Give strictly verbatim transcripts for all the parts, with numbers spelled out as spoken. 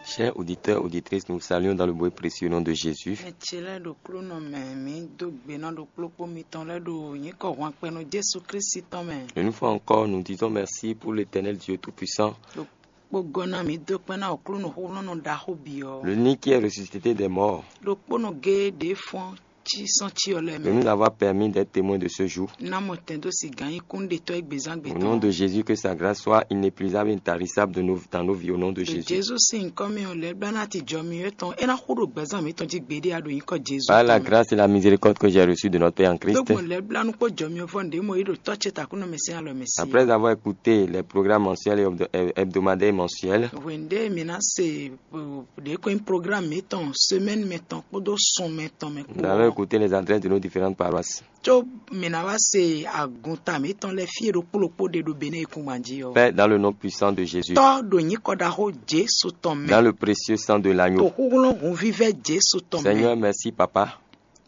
Chers auditeurs, auditrices, nous vous saluons dans le beau et précieux nom de Jésus. Ɛ ce lɛ́ɛ ɖo klúnɔ mɛ, mǐ dó gbe ná ɖo kplɔ́kpó mitɔn lɛ́ɛ ɖo nyǐkɔ hwanpɛ́nú Jezu Klísu tɔn mɛ. Une fois encore, nous disons merci pour l'Éternel Dieu Tout-Puissant. Ɖo kpó gɔ́ ná mǐ dó kpɛ́n ná Aklúnɔ xóxlɔ́nɔ ɖaxó bǐ ɔ́. L'unique qui est ressuscité des morts. Ɖokpónɔ géé ɖě fɔ́n cí sɔ́ cí ɔ́ lɛ́ɛ De mɛ. Nous avoir permis d'être témoins de ce jour. Ná mɔ tɛn dó si gǎn nyí kúnɖetɔ́ égbezán Au nom de gbetɔn. Jésus, que sa grâce soit inépuisable et intarissable de nos, dans nos vies, au nom de Ɖo Jésus. Jezu sín nyǐkɔ mɛ ɔ́, lɛ̌ blá ná ti jɔ mì tɔn é ná xú ɖo gbɛzán mǐtɔn jí gbeɖé a ɖo nyǐkɔ Jezu Par la tɔn mɛ. Grâce et la miséricorde que j'ai reçue de notre Père en Christ, Dógbɔn lɛ̌ blá nú kpó jɔ mì vɔ nǔɖé mɔ yí ɖo tɔ́ ce takúnɔ mɛ sín alɔ mɛ sí. Après avoir écouté les programmes mensuels et hebdo- hebdomadaires et mensuels, Hwɛ̌ndé mǐ ná se ɖě ko nyí programme mǐtɔn semaine mɛ tɔn kpódó sun mɛ tɔn mɛ kpó. Nous avons écouté les adresses de nos différentes paroisses. Có mǐ ná wá se agunta mǐtɔn lɛ́ɛ fí e ɖokpó ɖokpó ɖe ɖo Benin yíkúngban jí ɔ́. Père, dans le nom puissant de Jésus, Tɔ́ ɖo nyǐkɔ ɖaxó Jezu tɔn mɛ. Dans le précieux sang de To l'agneau. Xúxlɔ́n hunvívɛ́ Jezu tɔn mɛ. Seigneur, merci, Papa,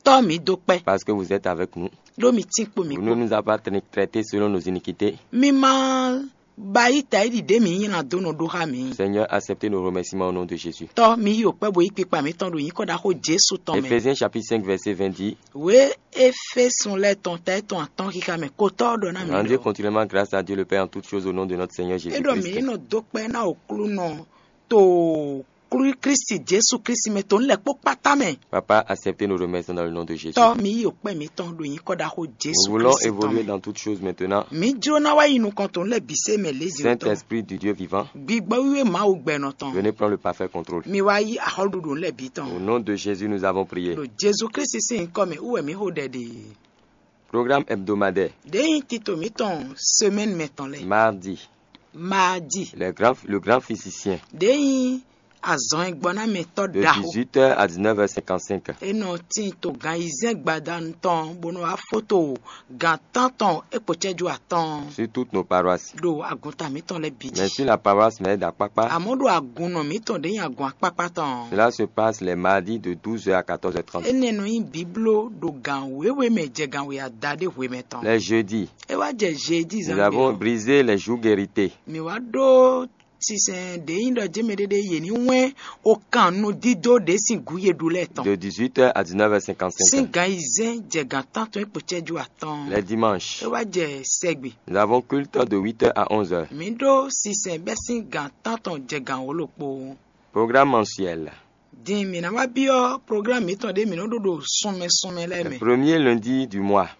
Tɔ́ mǐ dó kpɛ́. Parce que vous êtes avec nous. Ɖó mi tín kpo mǐ Vous ne kpó. Nous avez pas tra- traités selon nos iniquités. Mi ma ba yí ta yi ɖi ɖě mǐ nyi ná dó nɔ ɖó xá mǐ. Seigneur, acceptez nos remerciements au nom de Jésus. Tɔ́ mi yi òkpɛ́ bo yí kpikpa mǐtɔn ɖo nyǐkɔ ɖaxó Jezu tɔn mɛ. Éphésiens chapitre cinq, verset vingt dit, Wě Éfésɔn lɛ́ɛ tɔn ta étɔn atɔ́n xixa mɛ kotɔ́ ɖɔ ná mǐ Rendez ɖɔ. Continuellement grâce à Dieu le Père en toutes choses au nom de notre Seigneur É ɖɔ mǐ Jésus-Christ. Nɔ dó kpɛ́ ná Aklúnɔ to Klú- Klísu Jezu Klísu mɛ to nǔ lɛ́ kpó kpátá mɛ. Papa, acceptez nos remerciements dans le nom de Jésus. Tɔ́ mi yi òkpɛ́ mǐtɔn ɖo nyǐkɔ ɖaxó Jezu Nous voulons Klísu tɔn évoluer mɛ. Dans toutes choses maintenant. Mǐ jló ná wá yi nukɔn to nǔ lɛ́ɛ bǐ se mɛ lézǐ tɔn. Saint-Esprit du Dieu vivant, Gbigbɔ wíwé Mawu gbɛnɔ tɔn. Venez prendre le parfait contrôle. Mi wá yí axɔ́ɖuɖu nǔ lɛ́ɛ bǐ tɔn. Au nom de Jésus, nous avons prié. Ɖo Jezu Klísu sín nyǐkɔ mɛ wú wɛ mǐ xo ɖɛ ɖe. Programme hebdomadaire. Ɖěe nyí tito mǐtɔn semɛ́ni mɛ tɔn lɛ́ɛ. Mardi, Maadi. Le grand, le grand physicien. Ɖěe nyí azɔn e gbɔ ná mɛ tɔ́ De ɖaxó. Dix-huit heures à dix-neuf heures cinquante-cinq. É nɔ tín to gan ayizɛ́n gbadanu tɔn bó nɔ wá fó to gan tántɔn é kpo cɛ́jú atɔn. Sur toutes nos paroisses. Ɖo agunta mǐtɔn lɛ́ɛ bǐ jí. Mais sur la paroisse Mère d'Akpakpa, Amɔ̌ ɖo agunnɔ mǐtɔn ɖě nyi agun akpákpá tɔn. Cela se passe les mardis de douze heures à quatorze heures trente. Énɛ́ nɔ nyí bǐbló ɖo gan wěwe mɛ jɛ gan we adaɖé hwemɛ tɔn. Les jeudis, É wá jɛ jeudi nous avons zán brisé les jougs hérités. Mǐ wá ɖó sinsɛn ɖě nyí ɖɔ jɛ́mɛ ɖéɖé yě ní wɛ́n o kan nú dídó ɖě sín gǔ ye ɖu lɛ́ɛ tɔn. De dix-huit heures à dix-neuf heures cinquante-cinq. Sín gan ayizɛ́n jɛ gan tántɔn é kpo cɛ́jú atɔn. Les dimanches, É wá jɛ sɛgbe. Nous avons culte de huit heures à onze heures. Mǐ ɖó sinsɛn bɛ́ sín gan tántɔn jɛ gan wǒ ɖokpó. Programme mensuel. Din mǐ ná wá byɔ́ programme mǐtɔn ɖé mǐ nɔ ɖó ɖo sunmɛ sunmɛ lɛ́ɛ mɛ. Premier lundi du mois.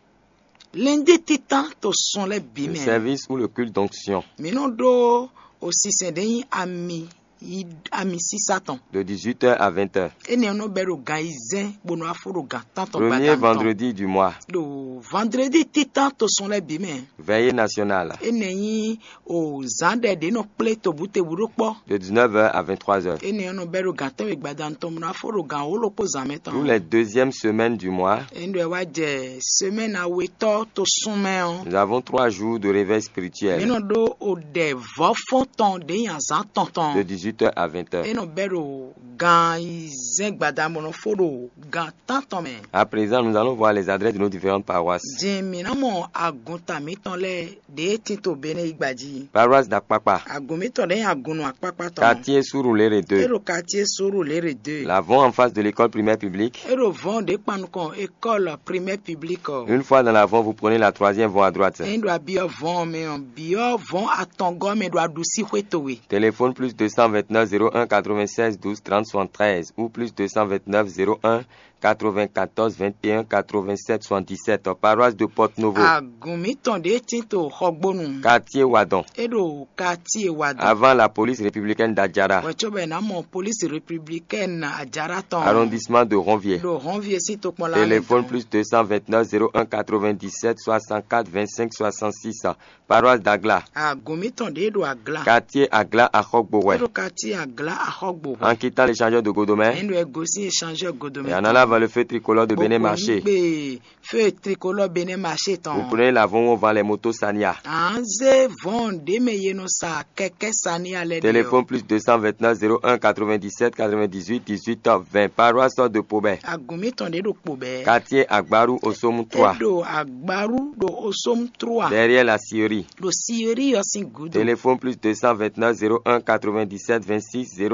Lɛndí títán to sun lɛ́ɛ bǐ Le mɛ. Service ou le culte d'onction. Mǐ nɔ ɖó osisɛn ɖé nyí ami yi ami sísá tɔn. De dix-huit heures à vingt heures. Énɛ́ ɔ́ nɔ bɛ́ ɖo gan ayizɛ́n bó nɔ wá fó ɖo gan tántɔn Premier gbadanu tɔn. Vendredi du mois. Ɖo vendredi títán to sun lɛ́ɛ bǐ mɛ. Veillée nationale. Énɛ́ nyí o zǎn ɖɛ ɖě nɔ kplé tobǔtebǔ ɖó kpɔ́. De dix-neuf heures à vingt-trois heures. Énɛ́ ɔ́ nɔ bɛ́ ɖo gan tɛ́nwe gbadanu tɔn bó ná fó ɖo gan wǒ ɖokpó zǎn mɛ tɔn. Tous les deuxièmes semaines du mois. Énɛ́ wá jɛ semɛ́ni awetɔ́ to sun mɛ ɔ́. Nous avons trois jours de réveil spirituel. Mǐ nɔ ɖó o ɖɛ vɔ̌fɔ́n tɔn ɖě nyi azǎn tɔn tɔn. De dix-huit heures à vingt heures. É nɔ bɛ́ ɖo gan ayizɛ́n gbadanu bó nɔ fó ɖo gan tántɔn mɛ. À présent, nous allons voir les adresses de nos différentes paroisses. Din mǐ ná mɔ agunta mǐtɔn lɛ́ɛ ɖě tín to Benɛ́ yí gba jí. Paroisse d'Akpakpa. Agun mǐtɔn ɖě nyi agun nɔ akpákpá tɔn. Quartier Surulere É deux. Ɖo quartier Surulere deux. L'avant en face de l'école primaire publique. É ɖo vɔ̌n ɖě kpan nukɔn école primaire publique ɔ́. Une fois dans l'avant, vous prenez la troisième voie à droite. Ényí ɖo abyɔ́ vɔ̌n mɛ ɔ́, byɔ́ vɔ̌n atɔngɔ́ mɛ ɖo aɖusí xwé towe. Téléphone plus deux cent vingt-neuf zéro un quatre-vingt-seize douze trente soixante-treize ou plus deux cent vingt-neuf zéro un quatre-vingt-quatorze vingt et un quatre-vingt-sept soixante-dix-sept, paroisse de Porto Novo. Agun mǐtɔn ɖě tín to Xɔgbónu. Quartier Wadon. É ɖo quartier Wadon. Avant la police républicaine d'Adjara. Wɛ cóbɔ è nǎ mɔ police républicaine Adjara tɔn. Arrondissement de Ronvier. Ɖo Ronvier sín tokpɔnla. Téléphone plus deux cent vingt-neuf zéro un quatre-vingt-dix-sept soixante-quatre vingt-cinq soixante-six. Paroisse d'Agla. Agun mǐtɔn ɖě ɖo Agla. Quartier Agla Axɔgbo É wɛ. Ɖo quartier Agla Axɔgbo wɛ. En quittant l'échangeur de Godomé. Ényí ɖo ɛ gosín échangeur Godomé. Et en allant vers le feu tricolore de Bénin Marché. Gbe feu tricolore Bénin Marché tɔn. Vous prenez l'avant où on vend les motos Sania. À ń zé vɔ̌n ɖě mɛ yě nɔ sa kɛkɛ́ Sania lɛ́ɛ ɖe ɔ́. Téléphone plus deux cent vingt-neuf zéro un quatre-vingt-dix-sept quatre-vingt-dix-huit dix-huit vingt. Paroisse de Pobé. Agun mǐtɔn ɖě ɖo Pobé. Quartier Agbaru Osomu trois. É ɖo Agbaru ɖo Osomu trois. Derrière la scierie. Ɖo scierie ɔ́ sín gǔdo. Téléphone plus deux cent vingt-neuf zéro un quatre-vingt-dix-sept vingt-six zéro